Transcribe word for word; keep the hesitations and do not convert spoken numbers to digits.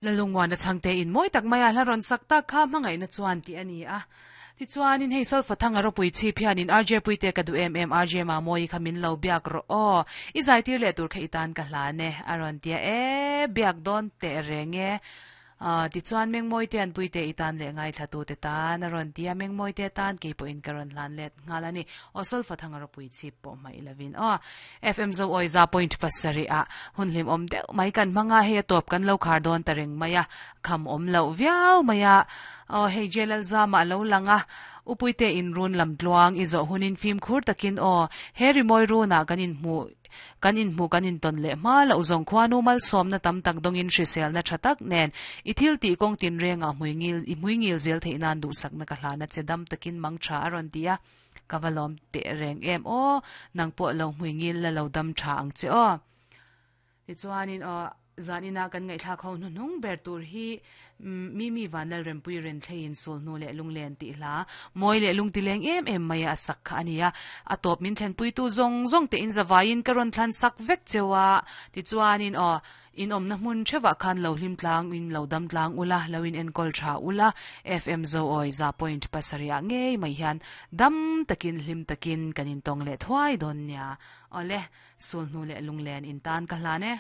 Lalungwana changte in moi tak maya hla ron sakta kha mangai na chuan ti ani a ti chuan in hei sol fathang aro pui chi phian in R J pui te ka du em em R J ma moi kha min lo biak ro o i zai tir le tur kha itan ka hla ne aron tia e biak don te renge a ti chuan meng moi te an pui te itan le ngai thla tu te tan aron tia meng moi te tan ke po in karon hlan let ngalani osol fathang aro pui chi po mai lovin o F M zo oiza point pasari a hunlim om deuh mai kan manga he top kan lo khar don tareng maya kham om lo viau maya o hei jelal zama lo langa upuite in run lam tluang izo hunin fim khur takin o heri moi runa kanin mu kanin mu kanin ton le ma lo zong khwanu mal som na tam tak dongin hrisel na thatak nen ithil ti kong tin renga muingil i muingil zel theinan du sak na ka hlana chedam takin mangtha aron tia kavalom te reng em o nangpo lo muingil la lo dam tha ang che o ti chuanin o zanina kan ngai thla khong nung ber tur hi mi mi vanal rempui ren thlein sul nu le lunglen ti hla moi le lung tileng em em maya sak kha ania atop min thlen pui tu zong zong te in zawain karon thlan sak vek chewa ti chuanin o in om na hmun chewa khan lo hlim tlang in lo dam tlang ula loin en kol tha ula F M zo oi za point pasaria nge mai hian dam takin hlim takin kanin tong le thwai don nya ole sul nu le lunglen in tan ka hla ne.